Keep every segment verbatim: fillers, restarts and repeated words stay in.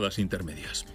das intermedias.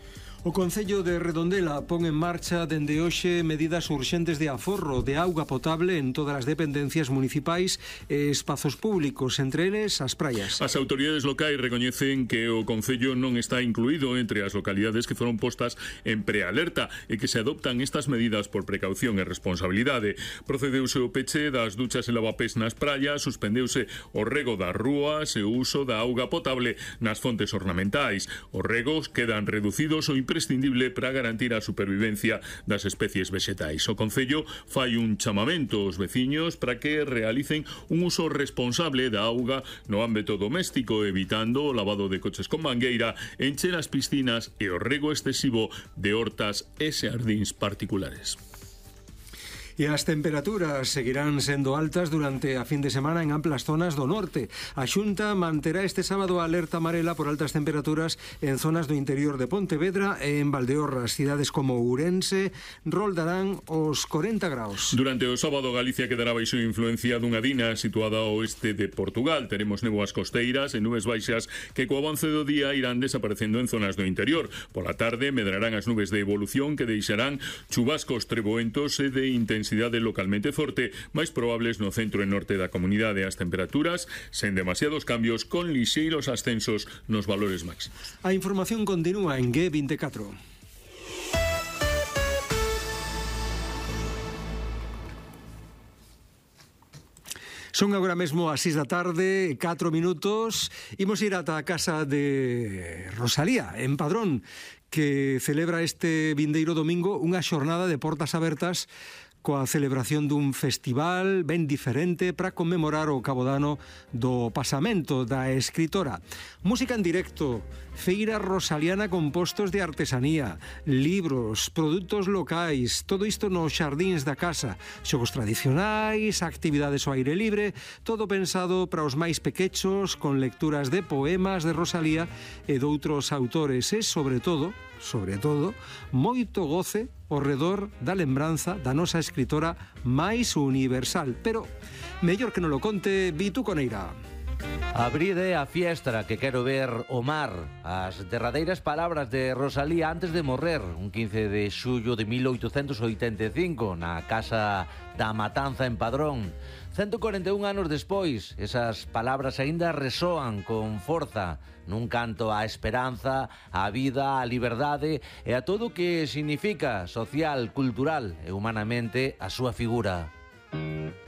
O Concello de Redondela pon en marcha dende hoxe medidas urxentes de aforro de auga potable en todas as dependencias municipais e espazos públicos, entre eles as praias. As autoridades locais recoñecen que o Concello non está incluído entre as localidades que foron postas en prealerta e que se adoptan estas medidas por precaución e responsabilidade. Procedeuse o peche das duchas e lavapés nas praias, suspendeuse o rego das rúas e o uso da auga potable nas fontes ornamentais. Os regos quedan reducidos ou imprescindible para garantir a supervivencia das especies vexetais. O Concello fai un chamamento aos veciños para que realicen un uso responsable da auga no ámbito doméstico, evitando o lavado de coches con mangueira, encher as piscinas e o rego excesivo de hortas e xardíns particulares. E as temperaturas seguirán sendo altas durante a fin de semana en amplas zonas do norte. A Xunta manterá este sábado a alerta amarela por altas temperaturas en zonas do interior de Pontevedra e en Valdeorras. Cidades como Ourense roldarán os corenta graus. Durante o sábado Galicia quedará baixo influencia dunha dina situada ao oeste de Portugal. Teremos néboas costeiras e nubes baixas que co avance do día irán desaparecendo en zonas do interior. Pola tarde medrarán as nubes de evolución que deixarán chubascos treboentos e de intensidade localmente forte, máis probables no centro e norte da comunidade. As temperaturas sen demasiados cambios, con lixeiros ascensos nos valores máximos. A información continúa en G veinticuatro. Son agora mesmo as seis da tarde, catro minutos. Imos ir ata a casa de Rosalía, en Padrón, que celebra este vindeiro domingo unha xornada de portas abertas coa celebración dun festival ben diferente para conmemorar o cabodano do pasamento da escritora. Música en directo, feira rosaliana con postos de artesanía, libros, produtos locais, todo isto nos xardíns da casa, xogos tradicionais, actividades ao aire libre, todo pensado para os máis pequechos, con lecturas de poemas de Rosalía e doutros autores e, sobre todo, sobre todo, moito goce ao redor da lembranza da nosa escritora máis universal. Pero, mellor que non lo conte Vitu Coneira. Abride a fiestra que quero ver o mar. As derradeiras palabras de Rosalía antes de morrer, un quince de xullo de mil oitocentos oitenta e cinco, na casa da Matanza en Padrón. ciento cuarenta e un anos despois, esas palabras aínda resoan con forza nun canto á esperanza, á vida, á liberdade e a todo o que significa social, cultural e humanamente a súa figura.